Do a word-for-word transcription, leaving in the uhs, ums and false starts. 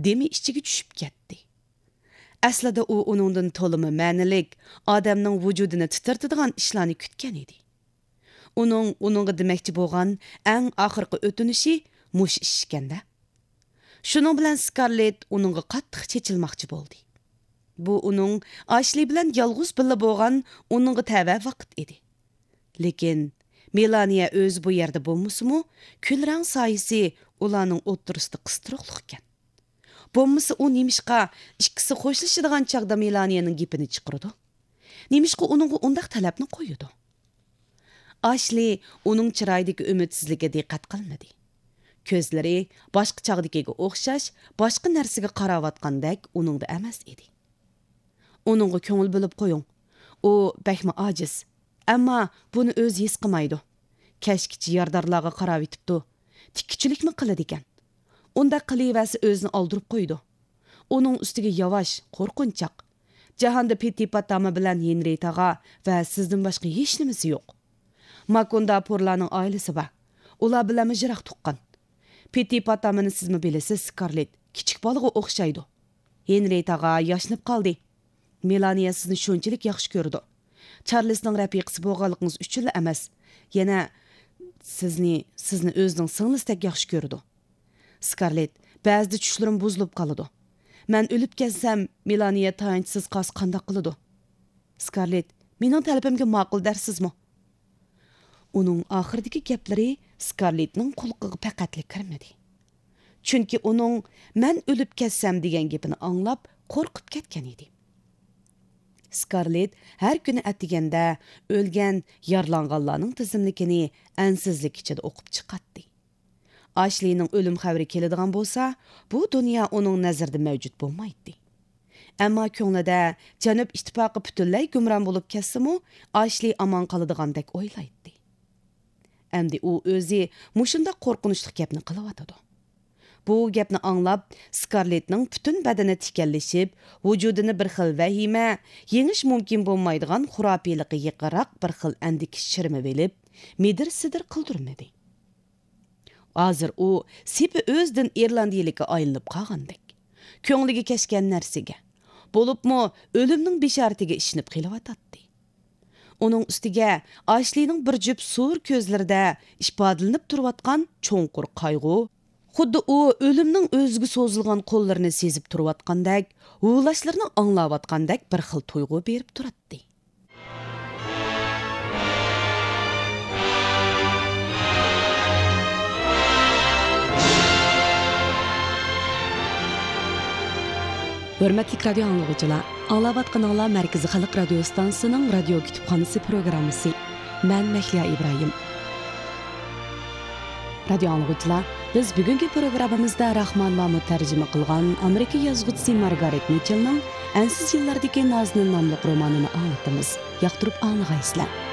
دېمى ئىچىگە چۈشۈپ كەتتى. ئەسلىدە ئۇ ئۇنىڭدىن تولىمۇ مەنىلىك، ئادەمنىڭ ۋۇجۇدىنى تىترىتىدىغان ئىشلارنى كۈتكەن ئىدى. ئۇنىڭ ئۇنىڭغا دېمەكچى بولغان ئەڭ ئاخىرقى ئۆتۈنۈشى مۇشۇ ئىش ئىكەن-دە. شۇنىڭ بىلەن سكارلېت ئۇنىڭغا قاتتىق چېچىلماقچى بولدى. بۇ ئۇنىڭ ئاشلى بىلەن يالغۇز بىللە بولغان ئۇنىڭغا تەۋە ۋاقىت ئىدى. لېكىن مېلانىيە ئۆزى بۇ يەردە بولمىسىمۇ، كۈل رەڭ سايىسى ئۇلارنىڭ ئوتتۇرىسىدا قىستۇرۇقلۇقكەن. بولمىسا ئۇ نېمىشقا ئىككىسى خوشلىشىدىغان چاغدا مېلانىيەنىڭ گېپىنى چىقىرىدۇ؟ نېمىشقا ئۇنىڭغا ئۇنداق تەلەپنى قويىدۇ؟ ئاشلى ئۇنىڭ چىرايىدىكى ئۈمىدسىزلىككە دىققەت قىلمىدى. كۆزلىرى باشقا چاغدىكىگە ئوخشاش، باشقا نەرسىگە قاراۋاتقاندەك ئۇنىڭدا ئەمەس ئىدى. ئۇنىڭغا كۆڭۈل بۆلۈپ قويۇڭ. ئۇ بەكمۇ ئاجىز. ئەمما بۇنى ئۆزى ھېس قىلمايدۇ. كەچكىچە يارىدارلارغا قاراۋېتىپتۇ. تىككۈچىلىكمۇ قىلىدىكەن. ئۇنداق قىلىۋەرسە ئۆزىنى ئالدۇرۇپ قويىدۇ. ئۇنىڭ ئۈستىگە ياۋاش، قورقۇنچاق. جاھاندا پېتى پاتاما بىلەن ھېنرىيتاغا ۋە سىزدىن باشقا ھېچنېمىسى يوق. ماكوندا پورلارنىڭ ئائىلىسى بار. ئۇلار بىلەنمۇ يىراق تۇغقان. پېتى پاتامىنى سىزمۇ بىلىسىز، سكارلېت. كىچىك بالىغا ئوخشايدۇ. ھېنرىيتاغا ياشىنىپ قالدى. مېلانىيە سىزنى شۇنچىلىك ياخشى كۆرىدۇ. چارلىسنىڭ رەپىقىسى بولغانلىقىڭىز ئۈچۈنلا ئەمەس، يەنە سىزنى، سىزنى ئۆزىنىڭ سىڭلىسىدەك ياخشى كۆرىدۇ. سكارلېت، بەزىدە چۈشلىرىم بۇزۇلۇپ قالىدۇ. مەن ئۆلۈپ كەتسەم، مېلانىيە تايانچسىز قالسا قانداق قىلىدۇ؟ سكارلېت، مېنىڭ تەلىپىمگە ماقۇل دەرسىزمۇ؟ ئۇنىڭ ئاخىرىدىكى گەپلىرى سكارلېتنىڭ قۇلىقىغا پەقەتلا كىرمىدى. چۈنكى ئۇنىڭ «مەن ئۆلۈپ كەتسەم» دېگەن گېپىنى ئاڭلاپ، قورقۇپ كەتكەن ئىدى. سكارلېت ھەر كۈنى ئەتىگەندە ئۆلگەن، يارىلانغانلارنىڭ تىزىملىكىنى ئەنسىزلىك ئىچىدە ئوقۇپ چىقاتتى. ئاشلىنىڭ ئۆلۈم خەۋىرى كېلىدىغان بولسا، بۇ دۇنيا ئۇنىڭ نەزىرىدە مەۋجۇت بولمايتتى. ئەمما كۆڭلىدە جەنۇب ئىتتىپاقى پۈتۈنلەي گۇمران بولۇپ كەتسىمۇ، ئاشلى ئامان قالىدىغاندەك ئويلايتتى. ئەمدى ئۇ ئۆزى مۇشۇنداق قورقۇنچلۇق گەپنى قىلىۋاتىدۇ. بۇ گەپنى ئاڭلاپ، سكارلېتنىڭ پۈتۈن بەدىنى تىكەنلىشىپ، ۋۇجۇدىنى بىر خىل ۋەھىمە، يېڭىش مۇمكىن بولمايدىغان خۇراپىيلىققا يېقىنراق بىر خىل ئەندىكىش شىرىمى بېلىپ، مىدىر-سىدىر قىلدۇرمىدى. ھازىر ئۇ سېپى ئۆزىدىن ئىرلاندىيىلىككە ئايلىنىپ قالغاندەك. كۆڭلىگە كەچكەن نەرسىگە، بولۇپمۇ ئۆلۈمنىڭ بېشارىتىگە ئىشىنىپ قېلىۋاتاتتى. ئۇنىڭ ئۈستىگە ئاشلىنىڭ بىر جۈپ سۇر كۆزلىرىدە ئىپادىلىنىپ تۇرۇۋاتقان چوڭقۇر قايغۇ، خۇددى ئۇ ئۆلۈمنىڭ ئۆزىگە سوزۇلغان قوللىرىنى سېزىپ تۇرۇۋاتقاندەك، ھۇۋلاشلىرىنى ئاڭلاۋاتقاندەك بىر خىل تۇيغۇ بېرىپ تۇراتتى. ھۆرمەتلىك رادىيو ئاڭلىغۇچىلار، ئاڭلاۋاتقىنىڭلار مەركىزىي خەلق رادىيو ئىستانسىسىنىڭ رادىيو كۇتۇپخانىسى پروگراممىسى. مەن مەھلىيا ئىبراھىم. رادىيو ئاڭلىغۇچىلار، بىز بۈگۈنكى پروگراممىمىزدا راخمان مامۇت تەرجىمە قىلغان ئامېرىكا يازغۇچىسى مارگارېت مىچېلنىڭ ئەنسىز يىللاردىكى نازنىن ناملىق رومانىنى ئاڭلىتىمىز. ياقتۇرۇپ ئاڭلىغايسىلەر.